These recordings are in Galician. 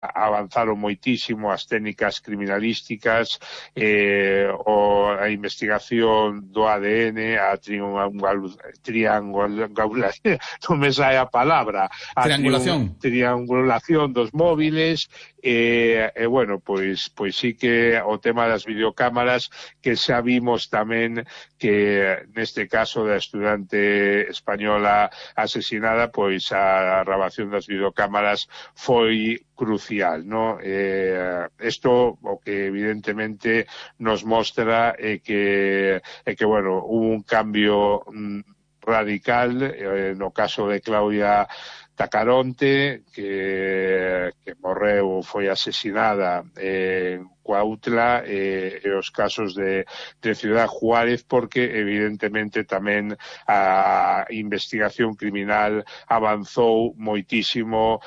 avanzaron moitísimo as técnicas criminalísticas, a investigación do ADN, a triangulación, non me sae a palabra, a triangulación dos móviles, bueno, pois sí que o tema das videocámaras, que xa vimos tamén que neste caso da estudante española asesinada, pois a grabación das videocámaras foi crucial, ¿no? Esto o que evidentemente nos mostra que bueno, hubo un cambio radical no caso de Claudia Tacaronte, que morreu, foi asesinada en Cuautla, e os casos de Ciudad Juárez, porque evidentemente tamén a investigación criminal avanzou moitísimo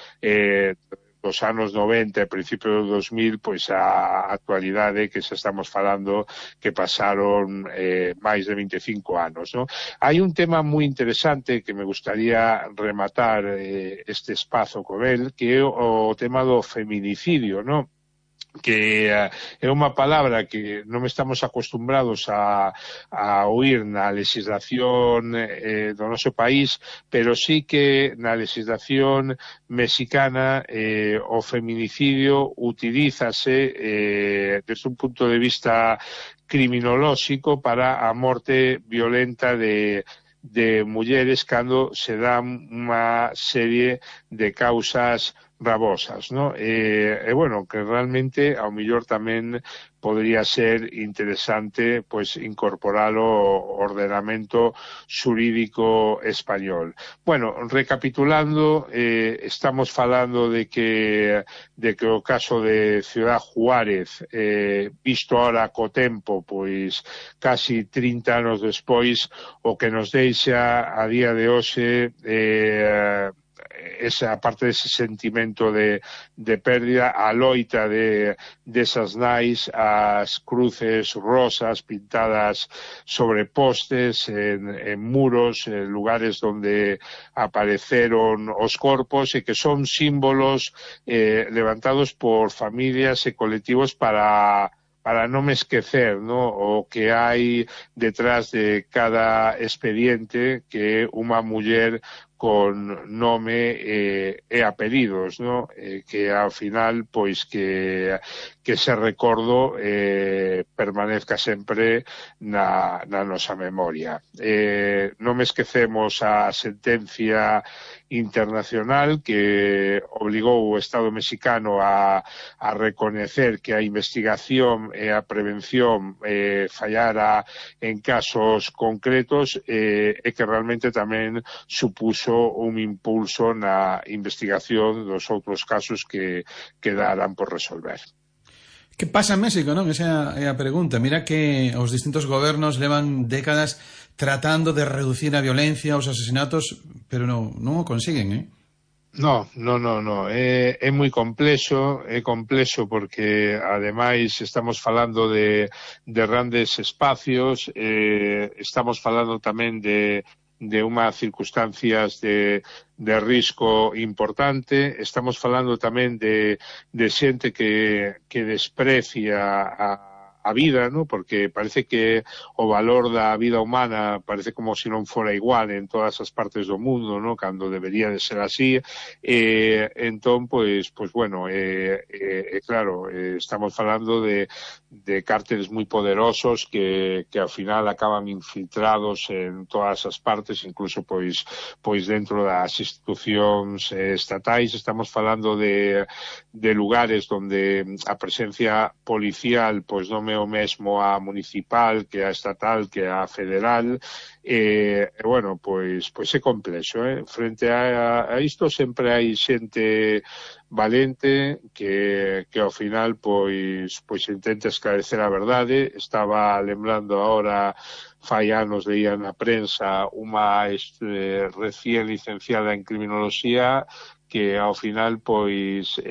dos anos 90 e principios do 2000, pois a actualidade que xa estamos falando que pasaron máis de 25 anos, ¿no? Hai un tema moi interesante que me gustaría rematar este espazo con el, que é o tema do feminicidio, ¿no? Que é unha palabra que non estamos acostumbrados a oír na legislación do noso país, pero sí que na legislación mexicana o feminicidio utilízase desde un punto de vista criminolóxico para a morte violenta de mulleres cando se dan unha serie de causas gravosas, ¿no? Bueno, que realmente ao mellor tamén podría ser interesante pois incorporar o ordenamento xurídico español. Bueno, recapitulando, estamos falando de que o caso de Ciudad Juárez, visto ahora co tempo, pois casi 30 anos despois, o que nos deixa a día de hoxe esa parte dese sentimento de pérdida, a loita desas nais, as cruces rosas pintadas sobre postes, en muros, en lugares donde apareceron os corpos, e que son símbolos levantados por familias e colectivos para non esquecer, ¿no?, o que hai detrás de cada expediente, que é unha muller con nome e apelidos, ¿no? Que ao final, pois que ese recordo permanezca sempre na nosa memoria. Non esquecemos a sentencia internacional que obligou o Estado mexicano a recoñecer que a investigación e a prevención fallara en casos concretos, e que realmente tamén supuso un impulso na investigación dos outros casos que quedaran por resolver. Que pasa en México, non? Esa é a pregunta. Mira que os distintos gobernos levan décadas tratando de reducir a violencia, os asesinatos, pero non o consiguen, eh? No, é moi complexo, porque ademais estamos falando de grandes espacios, estamos falando tamén de unhas circunstancias de risco importante, estamos falando tamén de xente que desprecia a vida, ¿no? Porque parece que o valor da vida humana parece como se non fora igual en todas as partes do mundo, ¿no? Cando debería de ser así. Entón, pois bueno, claro, estamos falando de cárteles moi poderosos que ao final acaban infiltrados en todas as partes, incluso pois dentro das institucións estatais. Estamos falando de lugares onde a presencia policial pois non é o mesmo a municipal que a estatal que a federal, bueno, pois é complexo, frente a isto sempre hai xente valente que ao final pois intenta esclarecer a verdade. Estaba lembrando agora, fai anos leía na prensa unha recién licenciada en criminoloxía que ao final pois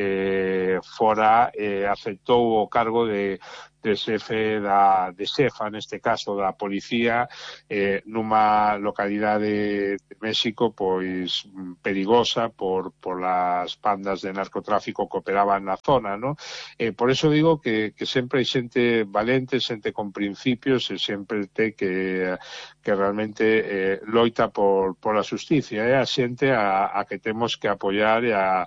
aceptou o cargo de de xefa, neste caso da policía, nunha localidade de México pois perigosa por as bandas de narcotráfico que operaban na zona, ¿no? Por eso digo que sempre hai xente valente, xente con principios e sempre te que realmente loita por a xusticia, a xente a que temos que apoiar e a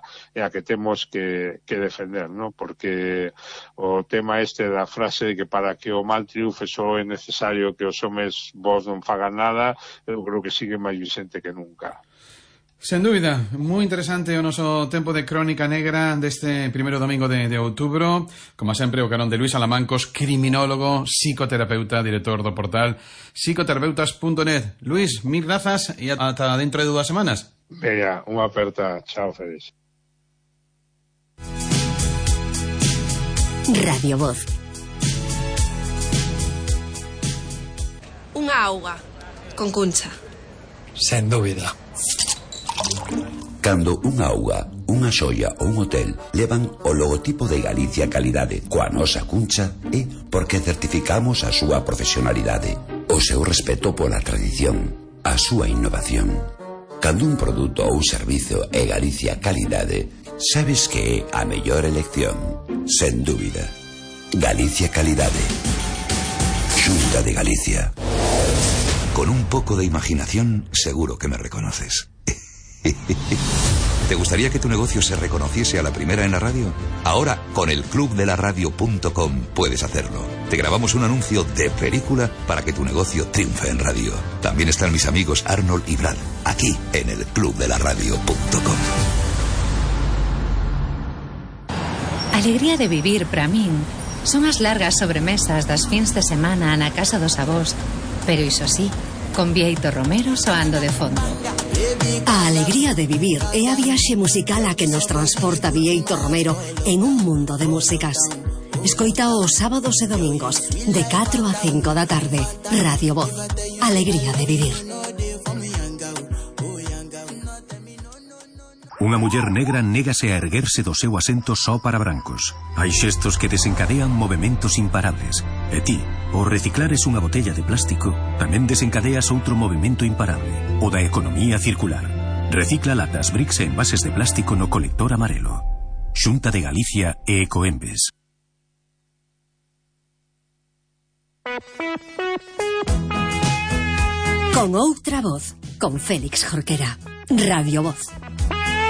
que temos que defender, ¿no? Porque o tema este da frase de que para que o mal triunfe só é necesario que os homes vos non fagan nada, eu creo que sigue máis vicente que nunca. Sen dúbida, moi interesante o noso tempo de Crónica Negra deste primeiro domingo de outubro. Como sempre, o carón de Luís Alamancos, criminólogo, psicoterapeuta, director do portal psicoterapeutas.net. Luís, mil grazas e ata dentro de 2 semanas. Venga, unha aperta. Chao, Félix. Radio Voz. Unha auga con Cuncha. Sen dúbida. Cando unha auga, unha xoia ou un hotel levan o logotipo de Galicia Calidade coa nosa Cuncha é porque certificamos a súa profesionalidade, o seu respeto pola tradición, a súa innovación. Cando un produto ou servizo é Galicia Calidade, sabes que é a mellor elección, sen dúbida. Galicia Calidade. Xunta de Galicia. Con un poco de imaginación, seguro que me reconoces. ¿Te gustaría que tu negocio se reconociese a la primera en la radio? Ahora, con el clubdelaradio.com puedes hacerlo. Te grabamos un anuncio de película para que tu negocio triunfe en radio. También están mis amigos Arnold y Brad, aquí en el clubdelaradio.com. Alegría de vivir para min son as largas sobremesas das fins de semana na casa dos avós, pero iso sí, con Bieito Romero soando de fondo. A alegría de vivir é a viaxe musical a que nos transporta Bieito Romero en un mundo de músicas. Escoita os sábados e domingos de 4 a 5 da tarde. Radio Voz. Alegría de vivir. Unha muller negra négase a erguerse do seu asento só para brancos. Hai xestos que desencadean movementos imparables. E ti, ao reciclares unha botella de plástico, tamén desencadeas outro movimento imparable, o da economía circular. Recicla latas, bricks e envases de plástico no colector amarelo. Xunta de Galicia e Ecoembes. Con outra voz, con Félix Jorquera. Radio Voz.